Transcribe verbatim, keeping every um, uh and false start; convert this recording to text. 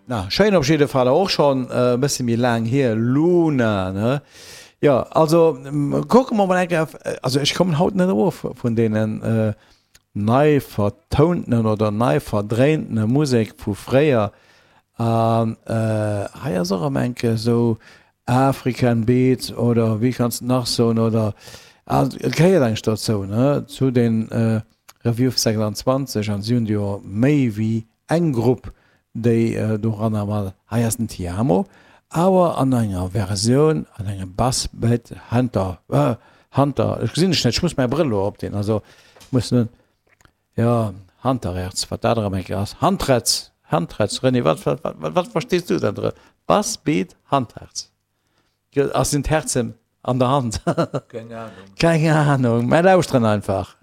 Na, schéin op jidde Fall, och schonn e bësse méi laang hier, Luna, ne? Jo, also kucke mer mol eng Kéier, also ech kommen haut net erof vun deenen nei vertountenen oder nei verdréintene Musek vu fréier. An hei ass och erëm eng Kéier esou African Beat oder wéi kanns de nach soen oder, et gehéiert eigentlech dozou, ne, zu den Review sechsanzwanzeg an si hunn jo méi wéi eng Grupp, déi doranner mat, hei ass den Tiamo, awer an enger Versioun an engem Bass Beat Hunter, Hunter, ech gesinn dech net, ech muss mäi Brëll elo opdinn, also muss nun, jo, Hunterherz, wat dat erëm eng Kéier ass, Handretz, Handretz, René, wat, wat, wat, wat verstees du dann drënner? Bass Beat Handherz, ass sinn d'Herzen an der Hand? Keng Ahnung. Keng Ahnung, mä lauschteren einfach.